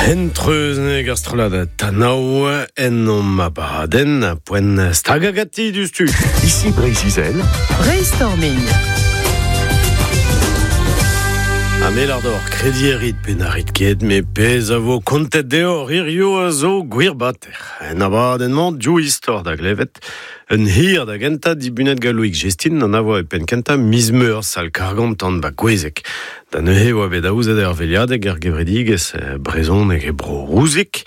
Hent-treuz neg ar strollad Tanao en om abadenn poent stagañ ganti diouzhtu. Ici Breizh-Izel. Brainstorming. Ha me lar deoc'h krediñ a rit pe na rit ket, met pezh a vo kontet deoc'h hirio a zo gwir bater. En abadenn-mañ, div istor da glevet. Un hir da gentañ dibunet gant Loïc Jestin an a voa e penn-kentañ miz Meurzh sal Kargantan ba Gouezeg. Da neuze e oa bet aozet ur veilhadeg er gevredigezh brezhoneg e Bro-Rouzig.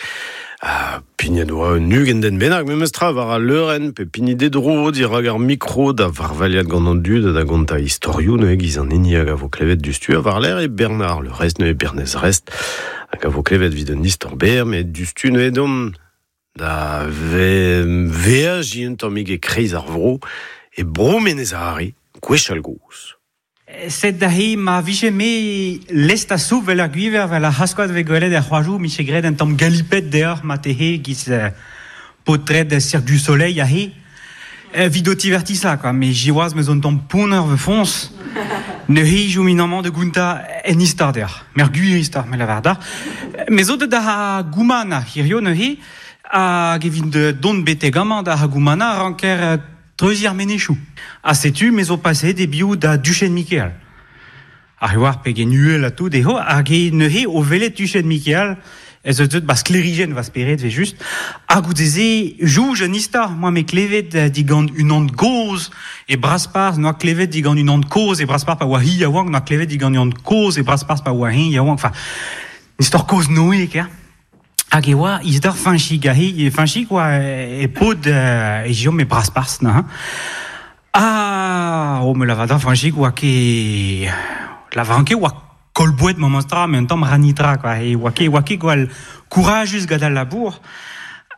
Ha pignet oa un 20 den bennak memes tra war al leurenn pe pignet d'e dro dirak ar mikro da varvailhat gant an dud ha da gontañ istorioù neuze giz an hini hag a vo klevet diouzhtu ha war-lerc'h eo Bernard Le Rest neuze Bernez Rest hag a vo klevet evit un istor berr met diouzhtu neuze deomp da veajiñ un tammig e-kreiz ar vro e Bro Menez-Are gwechall-gozh. Sed aze ma vije me lest a-soub 'vel ar gwiñver 'vel ar c'haskoad 'vez gwelet er c'hoajoù 'mije graet un tamm galipet deoc'h marteze 'giz paotred Cirque du Soleil aze evit ho tivertisañ quoi met siwazh 'meus un tamm ponner va foñs neuze 'chomin amañ da gontañ en istor deoc'h met ar gwir istor me lavar deoc'h me zo deut da Goumana hirio neuze hag evit dont betek amañ da Goumana 'ranker Treuziñ ar menezioù. Ha setu me zo paseet e-biou da Duchenn Mikeal. Ar oar pegen uhel ha tout eo, hag e neuze o welet Tuchenn Mikeal ez eus deuet ba sklêrijenn va spered 've just. Ha goude-se jouj un istor, moa me klevet digant unan gozh e Brasparzh, noa klevet digant unan kozh e Brasparzh pa oa hi yaouank, noa klevet digant unan kozh e Brasparzh pa oa eñ yaouank. Enfin, istor kozh-Noe, ker. Hag e oa istor Fañchig aze, Fañchig oa e paotr e jom e Brasparzh neuze. Ah, oh me lavar da Fañchig oa ket lavaran ket oa koll-boued memes tra, met un tamm ranitra quoi. E oa ket oa ket gwall kourajus gant al labour.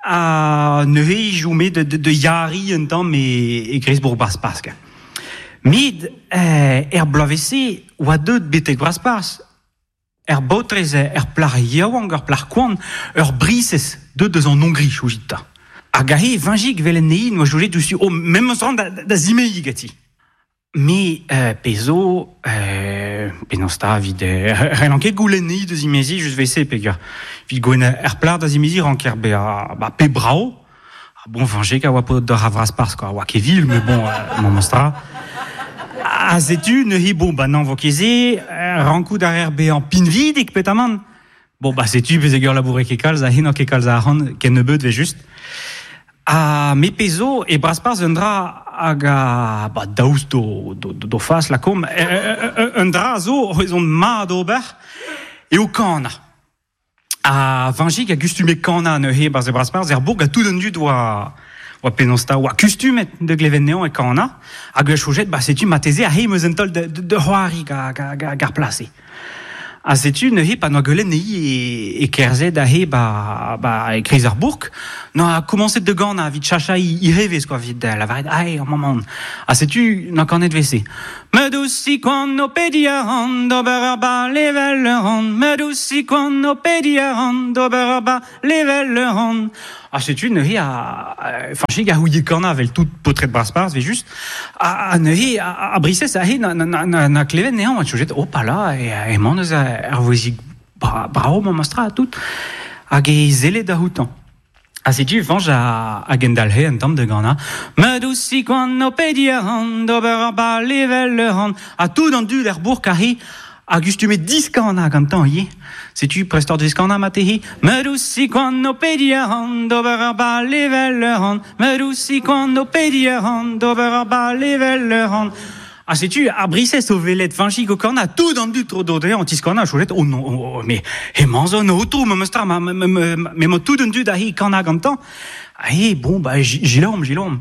Ha neuze e chome da, da, da yariñ un tamm e, e kreiz-bourg Brasparzh. Quoi. Met er bloavezh-se oa deuet betek Brasparzh Er baotrez, er plac'h yaouank, ur plac'h koant, ur brisez deuet eus an Hongri, soñjit 'ta. Hag aze, Vañjig, 'vel en he n'oa soñjet diouzhtu, oh, memes ran da, da zimeziñ ganti. Me, euh, pezh zo, euh, penaos 'ta, evit, euh, c'hellan ket goulenn 'ni da zimeziñ, just 'vel-se, peogwir evit goulenn er plac'h da zimeziñ ranker bezañ ba, pe brav, Ah bon, Vañjig a oa paotr d'ur vras-parzh, quoi. Oa ket vil, mais bon, memes tra. Ha setu, neuze, bon, bah non, vo ket se, rankout a reer bezañ pinvidik, petamant. Bon, bah setu, pezegur laboure ket kalz, ha n'eo ket kalz a arc'hant, ken nebeut, 'vel just. Ha me pezh zo, e Brasparzh un dra hag a, bah, daoust d'o, d'o, d'o fas, lakaomp, un dra zo ezhomm mat ober, eo kanañ. Ha Vañjig a gustume kanañ neuze 'barzh e Brasparzh er bourg ha tout an dud oa oa penaos 'ta oa kustumet da glevet anezhañ e kanañ hag a soñjet ba setu marteze aze 'm eus un taol da da c'hoari gant ar plas-se. Ha setu neuze pa 'noa gwelet anezhi e kerzhet aze ba ba e-kreiz ar bourk 'noa komañset da ganañ evit chachañ he evezh quoi evit lavaret ae amañ 'maon. Ha setu 'noa kanet 'vel-se. Ma dousig koant o pediñ a ran d'ober ur bal evel ur ran. Ma dousig koant o pediñ a ran d'ober ur bal evel ur ran. Ha setu neuze a Fañchig a c'houie kanañ evel tout paotred Brasparzh evel-just. Ha neuze a brisez aze na na na na klevet anezhañ a soñjet hopala emañ neuze ar vouezhig brav memestra ha tout. Hag e sellet da outañ. Ha setu Fañch a gendalc'he un tamm da ganañ. Ma dousig koant o pediñ a ran d'ober ur bal evel ur ran. Ha tout an dud er bourk aze a gustume diskanañ gantañ ivez. Setu prest oc'h diskanañ marteze. Ma dousig koant o pediñ a ran d'ober ur bal evel ur ran. Ma dousig koant o pediñ a ran d'ober ur bal evel ur ran. Ha setu ar brisez o welet Fañchig o kanañ, tout an dud tro-dro dezhañ o tiskanañ, soñjet, oh non, oh, oh, mais hemañ zo un aotrou, memes tra, m'emañ tout an dud aze kanañ gantañ. Ah, bon, bah, gilom, gilom.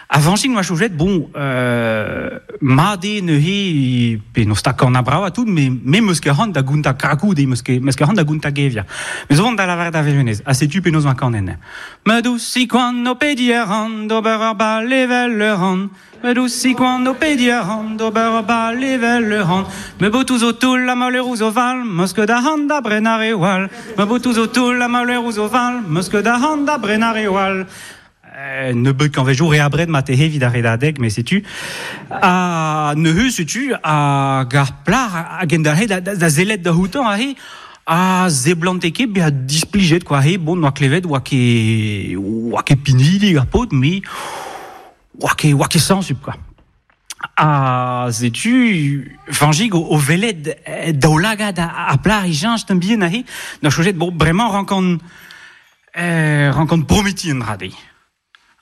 Ha Fañchig 'noa soñjet, bon, euh, mat eo neuze, penaos 'ta kanañ brav ha tout, mais me 'meus ket c'hoant da gontañ krakoù dezhi, 'meus ket, 'meus ket c'hoant da gontañ gevier. Me zo vont da lavaret da Verenez, ha setu penaos 'oa kanet. Ma dousig koant o pediñ a ran d'ober ur bal evel ur ran. Me dousig koant o pediñ a ran d'ober ur bal evel ur ran. Me botoù zo toull ha ma leuroù zo val, 'meus ket arc'hant da brenañ reoù all. Ma botoù zo toull ha ma leuroù zo val, 'meus ket arc'hant da brenañ reoù all. Nebeut kañvejoù re abred marteze evit ar redadeg, met setu. Ha neuze setu hag ar plac'h a gendalc'he da, da, da sellet da outañ aze. A zeblante ket bezañ displijet quoi, he bon oa klevet oa ket oa ket pinvidik ar paotr met oa ket oa ket sañsubl quoi. Ha setu Fañchig o, o welet daoulagad ar plac'h e cheñch tamm bihan aze, 'noa soñjet bon bremañ 'rankan rankan prometiñ un dra dezhi.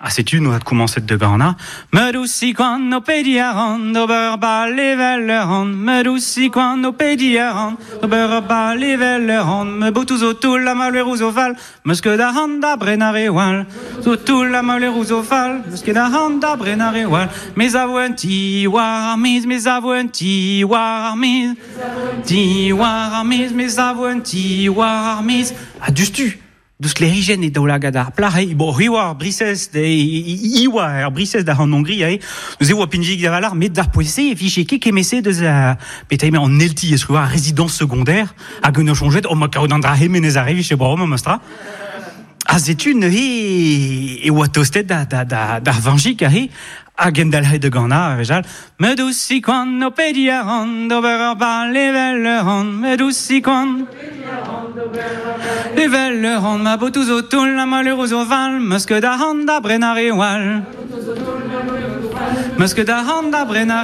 Ha setu 'noa komañset da ganañ Ma dousig koant ho pediñ a ran d'ober ur bal evel ur ran Ma dousig koant ho pediñ a ran d'ober ur bal evel ur ran Ma botoù zo toull ha ma leuroù zo fall 'Meus ket arc'hant da brenañ re all Zo toull ha ma leuroù zo fall 'Meus ket arc'hant da brenañ re all Me 'savo un ti war ar maez Me 'savo un ti war ar maez Ti war ar maez Me 'savo un ti war ar maez Ha diouzhtu Deus sklêrijenn e daoulagad ar plac'h eo bon hi oa ar brisez hi oa ar brisez da an Hongri eo neuze oa pinvidik a-walc'h met d'ar poent-se e vije ket kement-se deus petra emañ an elti eus ar résidence secondaire hag un soñjet oh ma kaout an dra hemenez a vije bravañ memestra ha setu neuze e oa tostet da da da d'ar vañjig aze Hag endalc'het da ganañ a-wechall Ma dousig koant ho pediñ a ran d'ober ur bal evel ur ran Ma dousig koant evel ur ran Ma botoù zo toull ha ma leuroù zo fall 'Meus ket arc'hant da brenañ reoù all 'Meus ket arc'hant da brenañ.